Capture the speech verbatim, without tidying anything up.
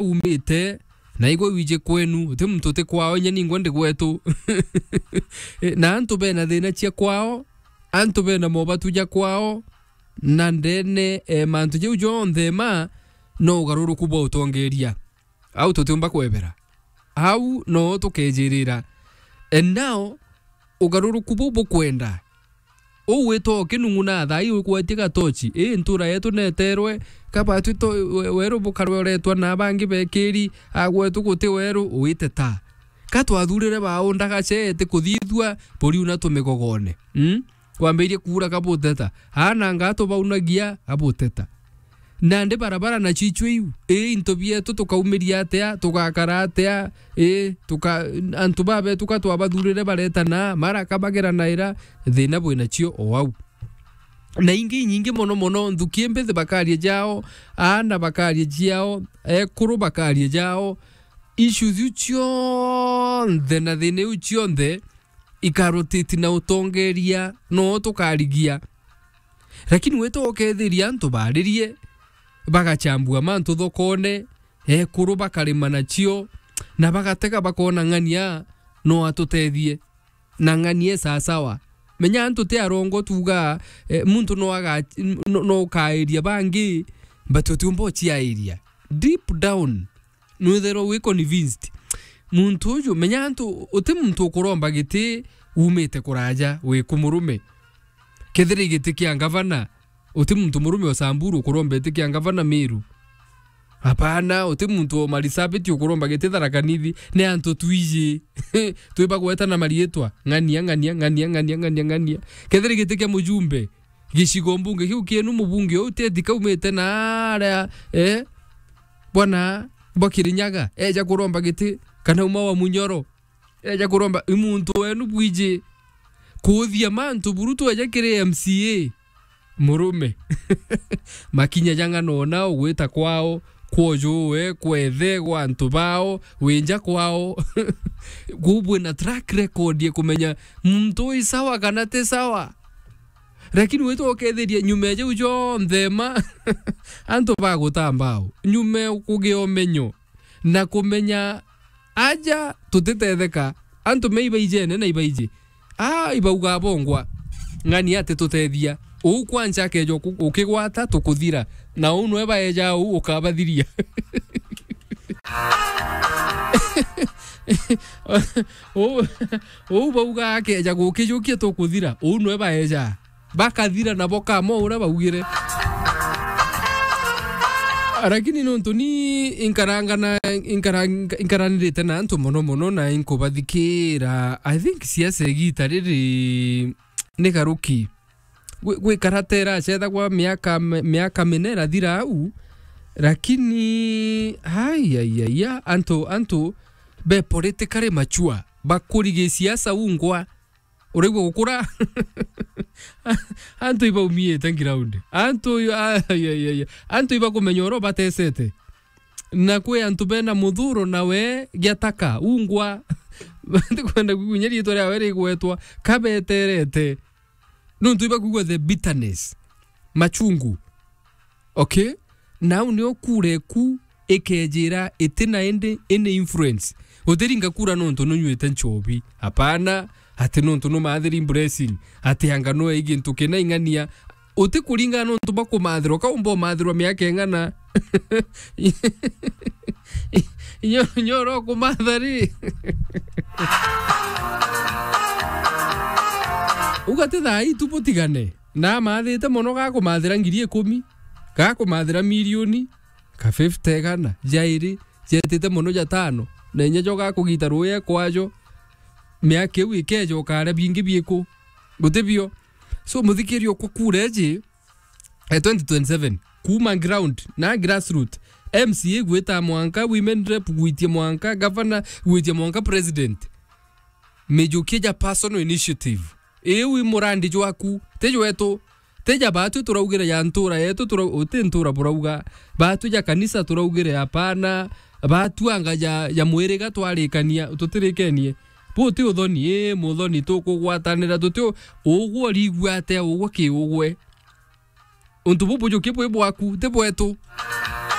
umite, na igwe wiji kwenu, uti muntu uti kwao, inya ningwa ndi gwetu. E, na antu bena thina cia kwao, antu bena mobatu ja kwao, na ndene, e, mantu jau jonthe ma, no ugaruruku bwa utongeria. Au tutiumba kwebera. Au no tukejirira. And now, ugaruruku buu bukwenda. Uu witwa ukinung'una thaa ii ugwetie gatochi. Ii ntura yetu neterwe, kabatwi to-, we-, weru bukarwe uretwa na bangi bekiri, agwetu guti weru, witeta. Ka twathurire baunda gacete kuthithua, buriuna tumigogone. Mm? Kwambirie kuura kabuteta. Aana nga tubaunagia, kabuteta. Nandi barabara na chichwe iu. Ii, into bietu tukaumiria atia, tugakara atia, ii, tuka-, antu babetu ka twabathurire baretana, mara ka bageranaira, thina bwina cio o au. Na ingi inyingi mono mono, nthuki mbithi bakaria jao, aana bakaria jiao, ekuru bakaria jao, issues iu cionthe na thina iu cionthe, ikarotiti na utongeria, no tukarigia. Lakini wita ukethiria antu baririe, bagachambua mantu thokone, ekuru bakarima nacio, na bagatega bakona ng'ania no atutethie. Na ng'ania e sasawa. Menya antu ti arongo tuga, eh, muntu no aga-, no, no ukairia bangi, but utiumba uciairia. Deep down, nwithirwa wi convinced. Muntu uju, menya antu, uti muntu ukuromba giti umite kuraja, wi ku murume. Kethira i giti kia ngavana, uti muntu murume o Samburu ukuromba giti kia ngavana Meru. Hapana, uti muntu o Marsabit ukuromba giti Tharaka Nithi, ni antu twiji. Twi bagwetana mariitwa, ng'ania, ng'ania, ng'ania. Kethira i giti kia mujumbe, gicigo mbunge kiu kienu, mubunge uu teti kaumite na aria, eh, bwana bwa Kirinyaga, eja kuromba giti, kana uma wa Munyoro, eja kuromba, i muntu wenu bwiji. Kuthia mantu buru tweja kiri M C A, murume. Makinya ja ng'ano ona ugwita kwao, kwojuwe, kwethe, gwa antu bao, winja kwao. Kuu bwina track record ya kumenya muntu ui sawa kana ti sawa. Lakini witwa ukethiria nyuma ya jau jonthe ma, antu bagutamba au. Nyuma ya kugia umenyo na kumenya aja tutitetheka, antu me ibaijene na ibaiji. Ah, ibauga bongwa. Ng'ani ati tutethia. Uu kwanja akeja uku-, ukigwata tukuthira. Na uu nwe baeja uu ukabathiria. Uu, uu bauga akeja gukijukia tukuthira. Uu nwe baeja. Bakathira nabo kama uria baugire. Lakini nontu ni inkarangana, inkara-, inkaranirite na antu mono mono na inkubathikira. I think siasa igita riri ni garuki. Gwi-, gwikara tera acethagwa miaka, miaka mina irathira au, lakini, ai, ai, ai, ya, antu, antu be politically mature, bakuri gisiasa ungwa, uraigua gukura. Antu ibaumiite ground. Antu, ai, ai, ai, ai. Antu ibakumenya oro batecete. Na kwi antu bena muthuro nawe giataka, ungwa. Batikwenda kwigua inya riitwa riawe rigwetwa, kabeterete. Nontu ibakwigua the bitterness. Machungu. Okay? Nau nio kura eku ikejira itina indi ini influence. Utiringa kura nontu nunyuite nchobi. Hapana, ati nontu numathiri blessing. Ati anga no igi ntu kina ing'ania. Utikuringa nontu bakumathirwa, kaumba umathirwa miaka ing'ana. Inyo, inyo ro kumatha ri. Ugati thaa ii tu butigane. Na amathite mono gakumathira ngiri ikumi, gakumathira milioni, ka fifty igana, jairi, jetite mono jatano. Na inya jo gakugita ruye kwajo, miaka iu ikeja ukaria bingi bieku. Guti bio. So, muthikiri okwa kura iji, eh, twenty twenty-seven, kuma ground, na grassroot, M C A gwita mwanka, women rep gwitia mwanka, governor gwitia mwanka, president. Mijukie ja personal initiative. Iu i murandi jwaku, ti jwetu. Ti ja batu turaugire ja ntura yetu, turau-, uti ntura burauga. Batu ja kanisa turaugire, hapana. Batu anga ja, ja mwiriga twarikania, tutirikenie. Bu ti uthoni, ii, muthoni tukugwatanira, tuti u-, ugwe urigua atia, ugwe ki ugwe? Untu bu bujukie bwi bwaku, ti bwetu.